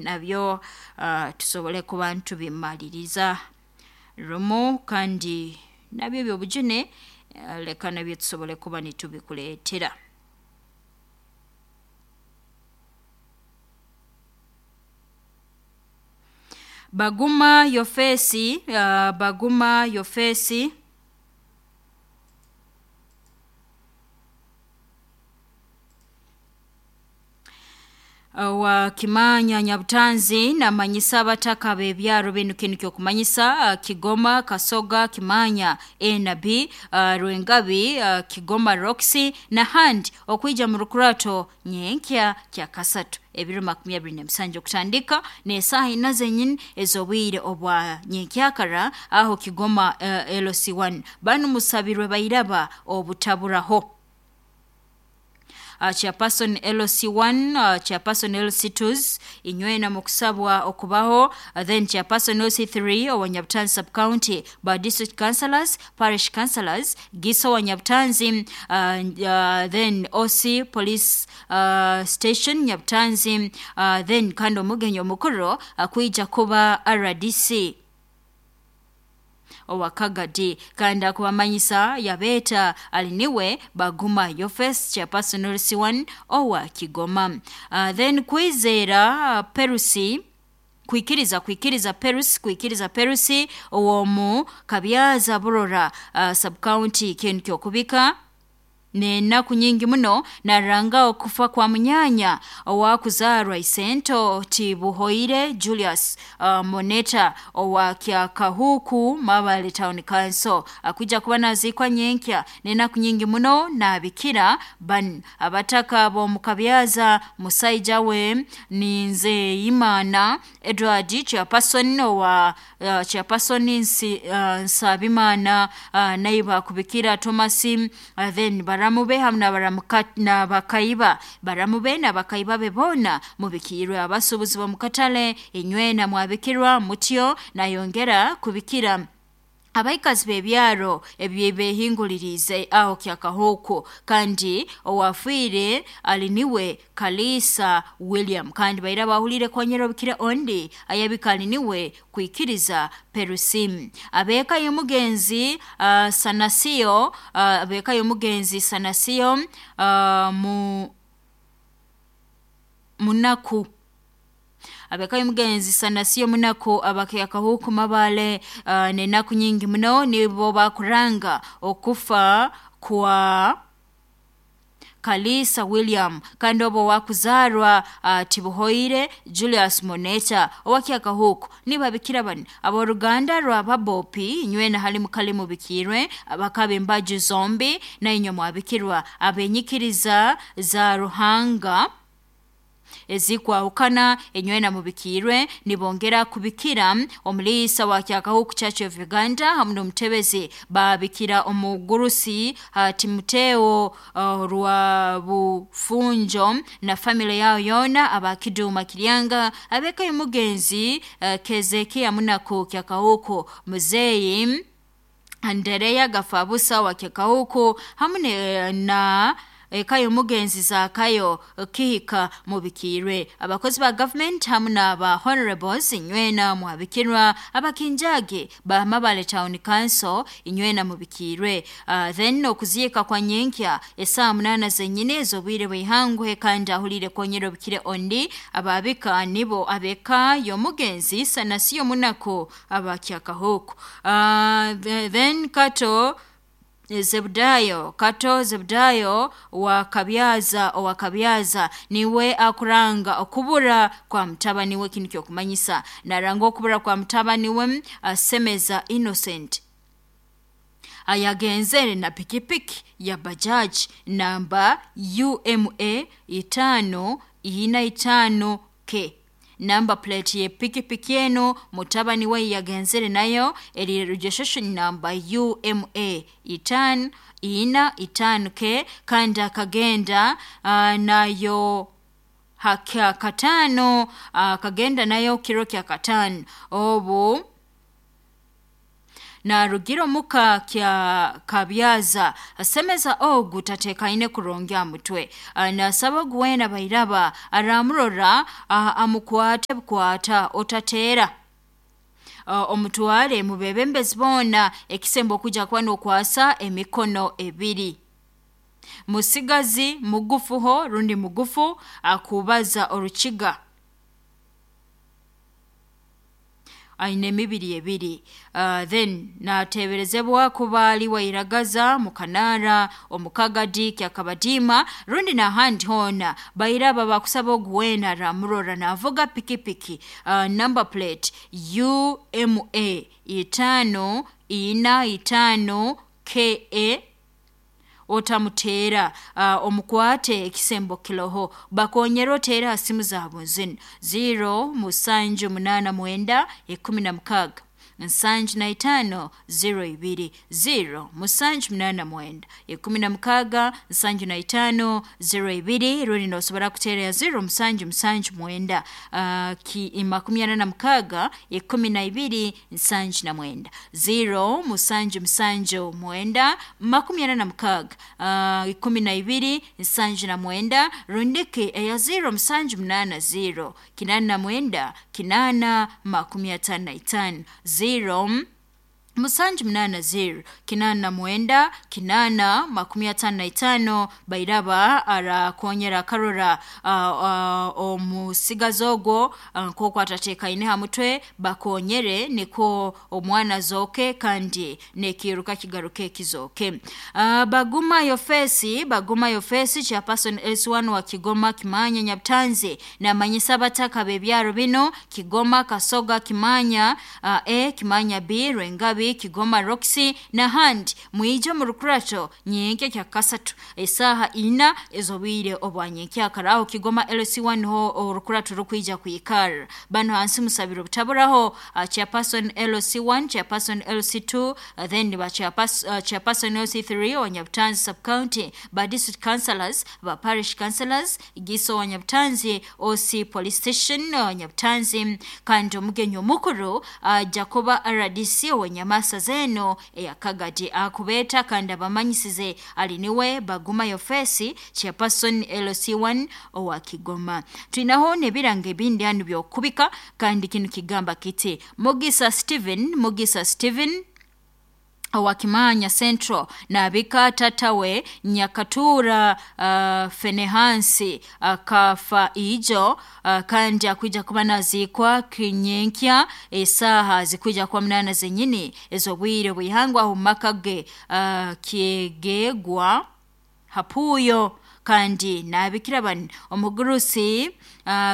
Nabyo tusobole kuba nitubimaliriza rumu, kandi nabyo ebyobujune leka nabyo tusobole kuba nitubikuleetera. Baguma Yofesi, Baguma Yofesi wa Kimanya Nyabutanzi namanyisa abataka b'ebyaro binu kinu kyokumanyisa Kigoma, Kasoga, Kimanya A na B, Rwengabi, Kigoma Roxy n'ahandi okwija mu rukurato nyenkya kyakasatu ebiro 27 okutandika n'esaaha ina zenyini ez'obwire obwa nyenkyakara aho Kigoma LC1. Banu musabirwe bairaba obutaburaho. Chairperson LC1, Chairperson LC2s inywena mukusabwa okubaho, then Chairperson LC3 owa Nyabutanzi sub county, ba district councillors, parish councillors, Giso wa Nyabutanzi, then OC police station Nyabutanzi, then kandi omugenyi omukuru akwija kuba RDC owa Kagadi, kandi akubamanyisa yabeeta aliniwe Baguma Yofes, Chairperson LC1 owa Kigoma. Then Kwizera Perusi, kwikiriza kwikiriza Perusi, kwikiriza Perusi owomu Kabyaza Burora sub county, kintu kyokubika n'enaku nyingi muno naranga okufa kwa munyanya owakuzarwa Isento Tibuhoire Julius Moneta owa Kyakahuku Mabale Town Council, akwija kuba naziikwa nyenkya n'enaku nyingi muno nabikira ban abataka b'omu Kabyaza musaija we Ninzeyimana Edward, Chairperson owa Chairperson Nsabimana, naiba kubikira Thomas, then baramube hamu n'abakaiba baramube n'abakaiba be boona mubikirwe, abasuubuzi b'omu katale inywena mwabikirwa mutyo. Nayongera kubikira abaikazi b'ebyaro ebyebehinguliriize aho Kyakahuku, kandi owafiire ali niwe Kalisa William, kandi baira bahuliire konyera obukire ondi ayabika ali niwe kwikiriza Perusim. Abeeka y'omugenzi Sanasio, abeeka y'omugenzi Sanasio mu Munaku, abeka y'omugenzi Sanasio Munaku abakyakahuku Mabale, n'enaku nyingi muno nibo bakuranga okufa kwa Kalisa William, kandi obo wakuzarwa Tibuhoire Julius Moneta owakyakahuku nibabikira bani ab'oruganda rwa Babopi inywena hali mukali mubikirwe, abakaba embaju zombi na inywe mwabikirwa, abenyikiriza za Ruhanga ezikwahukana enywena mubikirwe. Nibongera kubikira omuliisa wa Kyakahuku Church of Uganda hamu n'omutebezi, babikira omugurusi Timoteo rwa Bufunjo na family yao yoona abakiduma Kiryanga, abeka y'omugenzi Kezekia Munaku Kyakahuku, muzeeyi Andereya Gafabusa wa Kyakahuku hamu na eka y'omugenzi Zakayo Kihika mubikirwe, abakozi ba government hamu n'aba honorables inywena mwabikirwa, abakinjage ba Mabale Town Council inywena mubikirwe. Then okuziika kwa nyenkya esaaha 8 zenyini ez'obwire bw'ihangwe, kandi ahuliire konyera obukire ondi ababika nibo abeka y'omugenzi Sanasiyo Munaku abakyakahuku. Then Kato Zebudayo, Kato Zebudayo wa Kabyaza, owa Kabyaza niwe akuranga okubura kwa mutabani we, kinu kyokumanyisa naranga okubura kwa mutabani we Semeza Innocent ayagenzere na pikipiki ya bajaji namba UMA 545 K. Namba plate ye pikipiki eno mutabani we yagenzere nayo eri registration namba UMA 545 K, kandi akagenda nayo hakya katano, akagenda nayo kiro kya katano obu. Narugira omuka kya Kabyaza asemeza ogu tatekaine kurungi aha mutwe. Nasaba ogu weena bairaba aramurora amukwate bukwata otateera, omutware mubebembezi boona ekisembo okuja kuba nokwasa emikono ebiri. Musigazi mugufuho rundi mugufu akubaza orukiga aine emibiri ebiri. Then nateberezebwa kuba ali wairagaza mukanara omukagadi kyakabadiima rundi n'ahandi hoona. Bairaba bakusaba ogu weena aramurora navuga pikipiki number plate UMA 545 KA otamuteera, omukwate ekisembo kiroho. Bakonyera oteere ha simu zaabo zinu 0 7 8 9 16 75 02 0 7 8 16 75 02 rundi nosobora kuteera ya 0 7 7 9 46 12 79 0 7 7 9 46 12 79 rundiki eya 0 7 8 0 89 8 55 0 7 8 0 89 8 55. Bairaba arakonyera akarora omusigazi ogwo nk'oku atatekaine ha mutwe, bakonyere niko omwana azooke kandi n'ekiiruka kigaruke kizooke. Baguma Yofesi, Baguma Yofesi chairperson S1 wa Kigoma Kimanya Nyabutanzi namanyisa abataka b'ebyaro bino Kigoma, Kasoga, Kimanya A, Kimanya B, Rwengabi, Kigoma Roxy n'ahandi mwije mu rukurato nyenkya kya kasatu esaaha ina ez'obwire obwa nyenkyakara aho Kigoma LC1 niho orukurato rukwija kwikara. Bano hansi musabiro butaburaho chairperson LC1, chairperson LC2, then ba chairperson LC3 wa Nyabutanzi sub county, ba district councillors, ba parish councillors, Giso wa Nyabutanzi, OC police station wa Nyabutanzi, kandi omugenyi omukuru Jacoba RDC wa Nyamasa zeno eya Kagadi akubeeta kandi abamanyisize ali niwe Baguma Yofesi chairperson LC1 owa Kigoma. Twinaho n'ebirango ebindi hanu byokubika kandi kinu kigamba kiti Mugisa Steven, Mugisa Steven owa Kimanya Central nabika tatawe Nyakatura Fenehansi akafa ijo, kandi akwija kuba nazikwa kinyenkya esaha zikwija kuba 8 zenyini ez'obwire bwihangwa aho mumaka ge kyegegwa hapuyo. Kandi nabikira bano omugurusi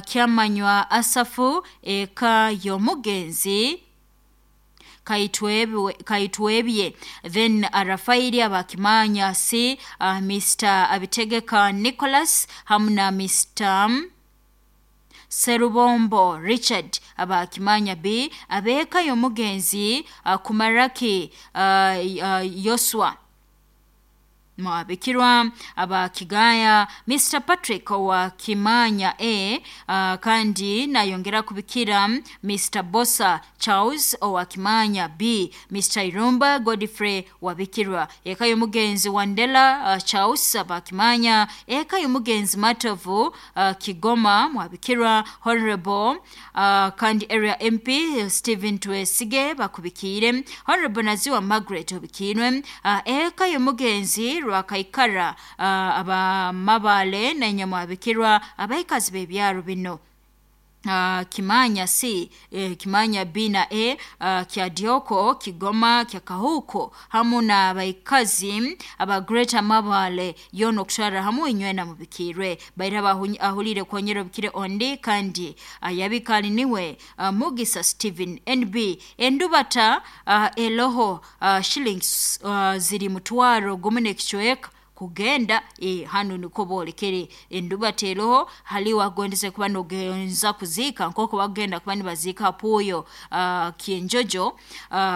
kyamanywa Asafu eka y'omugenzi Kaitwebye, then Rafaeli abakimanya si Mr Abitegeka Nicholas hamu na Mr Serubombo Richard abakimanya B abeka y'omugenzi Kumaraki Yoswa mwabikirwa abakigaya Mr Patrick wa Kimanya A, kandi nayongera kubikira Mr Bosa Charles owa Kimanya B, Mr Irumba Godfrey wabikirwa eka y'omugenzi Wandela Charles abakimanya eka y'omugenzi Matovu Kigoma mwabikirwa Honorable kandi area MP Stephen Twesige bakubikire Honorable Naziwa Margaret obikirwe eka y'omugenzi Rwakaikara abamabale nanyamwabikirwa abaikazi b'ebyaro bino Kimanya C, Kimanya B na A, kya Dioko, Kigoma, kya Kahuko hamu na abaikazi aba Greater Mabale yono okushara hamu inywe na mubikirwe bairaba ahulire kwonyera obikire ondi kandi ayabikali niwe Mugisa Steven NB endubata eloho shillings ziri mutwaro gumu n'ekicweka kugenda hanu niko bolekere endubata eroho hali wagondeze kuba nogenza kuziika nk'oku bagenda kuba nibaziika hapuyo kyenjojo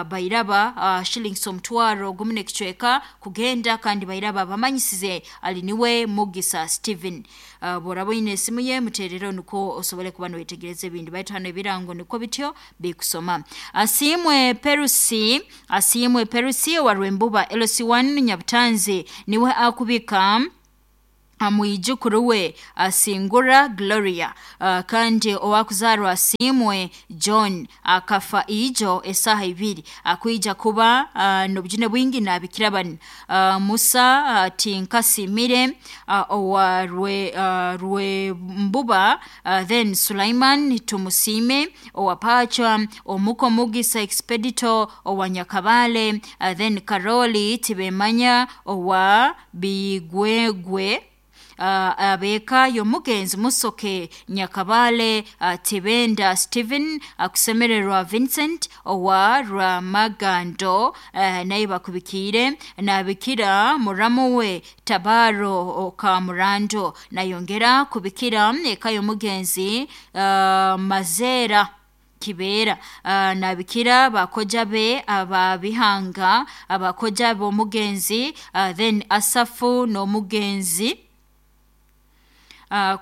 bairaba shillings omutwaro gumu n'ekicweka kugenda kandi bairaba bamanyisize ali niwe Mugisa Steven. Bworaba oine esimu ye muterere nukwo osobole kuba nowetegereza ebindi, baitu hanu ebirango nikwo bityo bikusoma. Asiimwe Perusi, Asiimwe Perusi owa Rwembuba LC1 Nyabutanzi niwe akubika mwijukuru we Asingura Gloria, kandi owakuzarwa Asiimwe John akafa ijo esaha ibiri akwija kuba nobujune bwingi nabikira bani Musa Tinkasimire owa Rwembuba, then Sulaiman Tumusime owa Pacha, Omuko Mugisa Expedito owa Nyakabale, then Karoli Tibemanya owa Bigwegwe, abeeka y'omugenzi Musoke Nyakabale, Tibenda Stephen, akusemererwa Vincent owa Rwamagando, naye bakubikiire nabikira muramu we Tabaro Kamurando, nayongera kubikira eka y'omugenzi Mazera Kibera, nabikira bakoja be ababihanga abakoja b'omugenzi, then Asafu n'omugenzi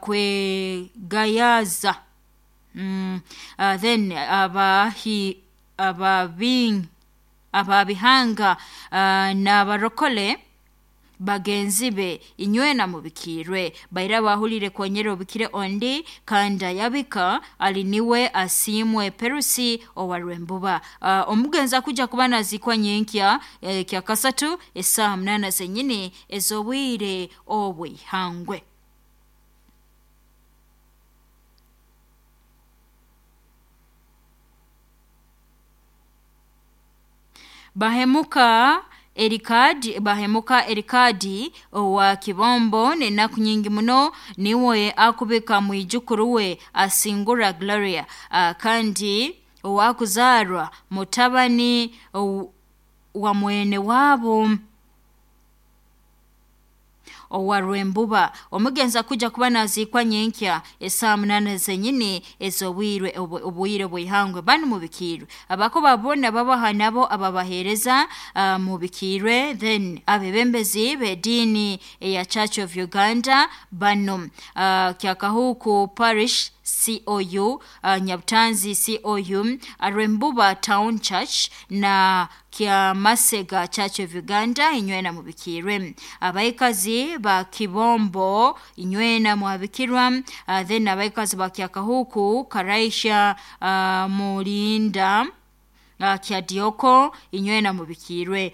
kwegayaza, then ababihanga n'abarokole bagenzi be inywena mubikirwe baira bahulire kwonyera obikire ondi kandi ayabika ali niwe Asiimwe Perusi owa Rwembuba. Omugenzi akuja kuba nazikwa nyenkya kya kasatu esaha 8 zenyini ez'obwire obwihangwe. Bahemuka Erikadi, Bahemuka Erikadi owa Kibombo nenaku nyingi muno niwe akubika mwijukuru we Asingura Gloria, kandi owakuzarwa mutabani wa mwene wabo owa Rwembuba. Omugenzi akuja kuba nazikwa nyenkya esaha 8 zenyini ez'obwire obwire bwihangwe. Banu mubikirwe abako babona babaha nabo ababahereza mubikirwe, then abebembezi b'ediini eya Church of Uganda bano, Kyakahuku Parish COU, Nyabutanzi COU, Rwembuba Town Church na Kyamasega Church of Uganda inywena mubikirwe. Abaikazi ba Kibombo inywena mwabikirwa, then abaikazi ba Kyakahuku Karaisha, Mulinda, Kyadioko inywena mubikirwe.